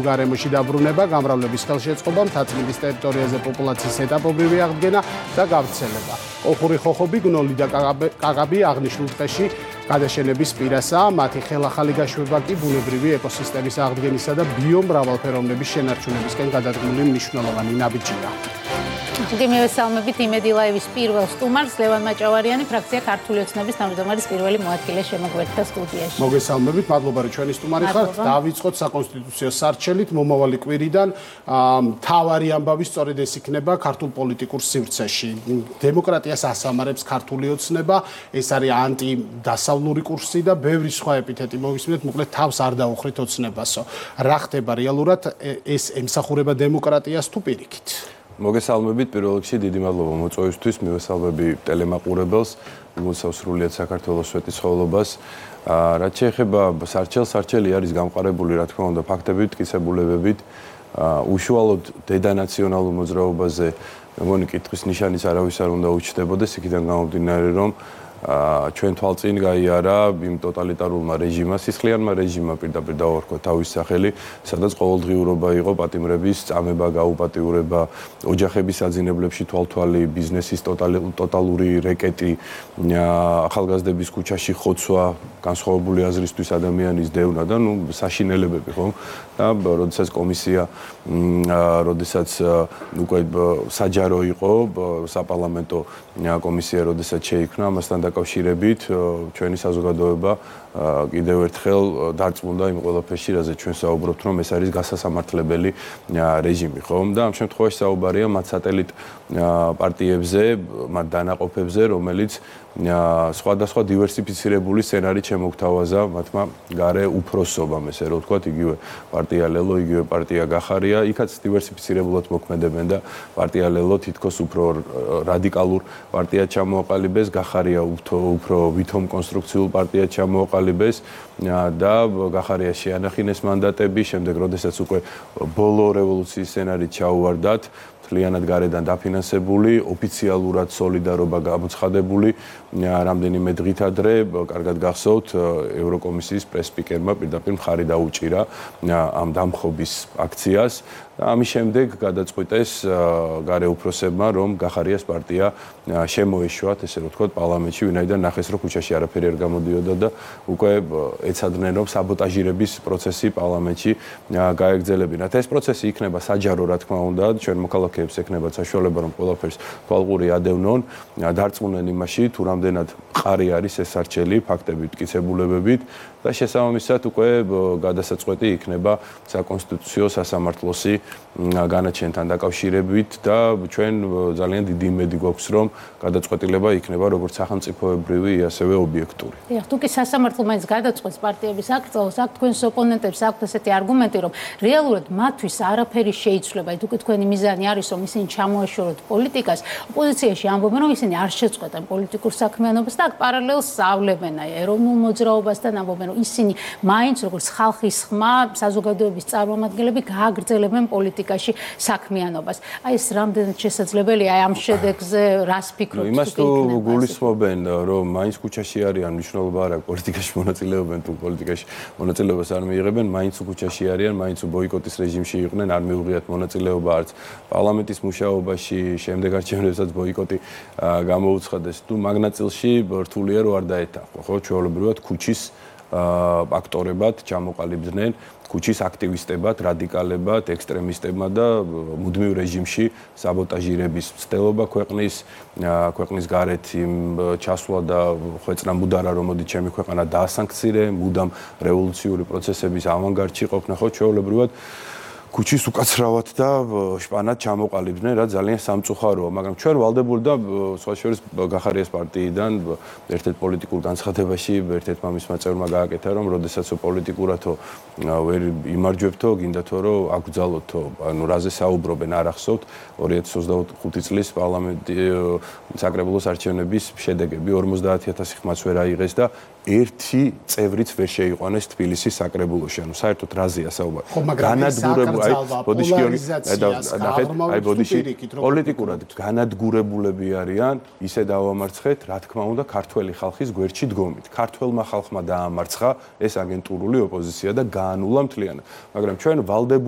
გარემოში დაბრუნება, გამრავლების ხელშეწყობა, მთაწმინდის ტერიტორიაზე პოპულაციის ეტაპობრივი აღდგენა და გავრცელება. ოხური ხოხობი, გნოლი და კაკაბი აღნიშნულ დღეში გადაშენების პირასაა, მათი ხელახალი გაშვება კი ბუნებრივი ეკოსისტემის აღდგენისა და ბიომრავალფეროვნების შენარჩუნებისკენ გადადგმული მნიშვნელოვანი ნაბიჯია. მივესალმებით იმედი ლაივის პირველ სტუმარს, ლევან მაჭავარიანი, ფრაქცია ქართული ოცნების თავმჯდომარის პირველი მოადგილე შემოგვერთა სტუდიაში. მოგესალმებით, მადლობა რომ ჩვენი სტუმარი ხართ. დავიწყოთ საკონსტიტუციო სარჩელით, მომავალი კვირიდან მთავარი ამბავი სწორედ ეს იქნება ქართულ პოლიტიკურ სივრცეში. დემოკრატიას ასამარებს ქართული ოცნება, ეს არის ანტიდასავლური კურსი და ბევრი სხვა ეპითეტი მოვისმინეთ, მოკლედ თავს არ დაუხრით ოცნებასო. რა ხდება რეალურად, ეს ემსახურება დემოკრატიას თუ პირიქით? მოგესალმებით, პირველ რიგში დიდი მადლობა მოწვევისთვის, მივესალმები ტელემაყურებელს, მისავს სრულიად საქართველოს სვეტიცხოვლობას. რაც შეეხება სარჩელი არის გამყარებული, რა თქმა უნდა, ფაქტებით, მტკიცებულებებით, უშუალოდ დედანაციონალურ მოძრაობაზე მეგონი კითხვის ნიშანის არავის არ უნდა უჩნდებოდეს, იქიდან გამომდინარე, რომ ჩვენ თვალწინ გაიარა იმ ტოტალიტარულმა რეჟიმმა, სისხლიანმა რეჟიმმა პირდაპირ დავარქვა თავის სახელი, სადაც ყოველდღიურობა იყო პატიმრების წამება, გაუპატიურება, ოჯახების აძინებლებში თვალთვალი, ბიზნესის ტოტალური რეკეტი, ახალგაზრდების ქუჩაში ხოცვა, განსხვავებული აზრისთვის ადამიანის დევნა და საშინელებები ხომ? და როდესაც კომისია, როდესაც უკვე საჯარო იყო, საპარლამენტო კომისია, როდესაც შეიქმნა, ამასთან დაკავშირებით ჩვენი საზოგადოება კიდევ ერთხელ დარწმუნდა იმ ყველაფერში, რაზე ჩვენ საუბრობთ, რომ ეს არის გასასამართლებელი რეჟიმი, ხომ? და ამ შემთხვევაში საუბარია მათ სატელიტ პარტიებზე, მათ დანაყოფებზე, რომელიც სხვადასხვა დივერსიფიცირებული სცენარით შემოგთავაზა მათმა გარე უფროსობამ, ესე რომ ვთქვათ, იგივე პარტია ლელო, იგივე პარტია გახარია, იქაც დივერსიფიცირებულად მოქმედებენ და პარტია ლელო თითქოს უფრო რადიკალურ პარტიად ჩამოაყალიბეს, გახარია უფრო ვითომ კონსტრუქციულ პარტიად ჩამოაყალიბეს და გახარია შეანახინეს მანდატები, შემდეგ როდესაც უკვე ბოლო რევოლუციის სცენარით ჩაუვარდათ, მთლიანად გარედან დაფინანსებული, ოფიციალურად სოლიდარობა გამოცხადებული, რამდენიმე დღით ადრე, კარგად გახსოვთ, ევროკომისიის პრეს-სპიკერმა პირდაპირ მხარი დაუჭირა ამ დამხობის აქციას. ამის შემდეგ გადაწყვიტეს გარე უფროსებმა, რომ გახარიას პარტია შემოეშვათ, ესე რომ ვთქვათ, პარლამენტში, ვინაიდან ნახეს, რომ ქუჩაში არაფერი არ გამოდიოდა და უკვე ეცადნენ, რომ საბოტაჟირების პროცესი პარლამენტში გაეგრძელებინათ. ეს პროცესი იქნება საჯარო, რა თქმა უნდა, ჩვენ მოქალაქეებს ექნებათ საშუალება, რომ ყველაფერს თვალყური ადევნონ, დარწმუნდნენ იმაში, თუ რამდენად მყარი არის ეს სარჩელი, ფაქტებით, მტკიცებულებებით და შესაბამისად უკვე გადასაწყვეტი იქნება საკონსტიტუციო სასამართლოსი განაჩენთან დაკავშირებით და ჩვენ ძალიან დიდი იმედი გვაქვს, რომ გადაწყვეტილება იქნება როგორც სახელმწიფოებრივი, ასევე ობიექტური. დიახ, თუ კი სასამართლო მაინც გადაწყვეტს პარტიების აკრძალვას, აქ თქვენს ოპონენტებს აქვთ ესეთი არგუმენტი, რომ რეალურად მათთვის არაფერი შეიცვლება, თუ კი თქვენი მიზანი არის, რომ ისინი ჩამოეშოროთ პოლიტიკას, ოპოზიციაში ამბობენ, რომ ისინი არ შეწყვეტენ პოლიტიკურ საქმიანობას და აქ პარალელს სწავლებენ ეროვნულ მოძრაობასთან, ამბობენ, რომ ისინი მაინც როგორც ხალხის ხმა, საზოგადოების წარმომადგენლები გააგრძელებენ პოლიტიკაში საქმიანობას. აი ეს რამდენად შესაძლებელია ამ შედეგზე რას ფიქრობთ? იმას თუ გულისხმობენ, რომ მაინც ქუჩაში არიან, მნიშვნელობა არ აქვს პოლიტიკაში მონაწილეობენ თუ პოლიტიკაში მონაწილეობას არ მიიღებენ, მაინც ქუჩაში არიან, მაინც ბოიკოტის რეჟიმში იყვნენ, არ მიუღიათ მონაწილეობა არც პარლამენტის მუშაობაში, შემდეგ არჩევნებსაც ბოიკოტი გამოუცხადეს. თუ მაგ ნაწილში რთულია რომ არ დაეთანხმო, ხო, ჩვეულებრივად ქუჩის აქტორებად ჩამოყალიბდნენ, ქუჩის აქტივისტებად, რადიკალებად, ექსტრემისტებად და მუდმივ რეჟიმში საბოტაჟირების მცდელობა ქვეყნის გარეთ იმ ჩასვლა და ხვეწნა მუდარა, რომ მოდი ჩემი ქვეყანა დაასანქცირე, მუდამ რევოლუციური პროცესების ავანგარდში ყოფნა, ხო, ჩვეულებრივად ქუჩის უკაცრავად და შპანად ჩამოყალიბდნენ, რაც ძალიან სამწუხაროა, მაგრამ ჩვენ ვალდებული და სხვა შორის გახარიას პარტიიდან ერთ-ერთ პოლიტიკურ განცხადებაში ერთ-ერთმა მისმა წევრმა გააკეთა, რომ როდესაც პოლიტიკურათო ვერ იმარჯვებთო, გინდათო რომ აკრძალოთო, ანუ რაზე საუბრობენ, არ ახსოვთ 2025 წლის პარლამენტი საკრებულოს არჩევნების შედეგები 50000 ხმაც ვერ აიღეს და ერთი წევრიც ვერ შეიყვანეს თბილისის საკრებულოში. ანუ საერთოდ რაზეა საუბარი? პოლიტიკურად განადგურებულები არიან, ისე დავამარცხეთ, რა თქმა უნდა, ქართველი ხალხის გვერდში დგომით. ქართველმა ხალხმა დაამარცხა ეს აგენტურული ოპოზიცია და გაანულა მთლიანად. მაგრამ ჩვენ ვალდებული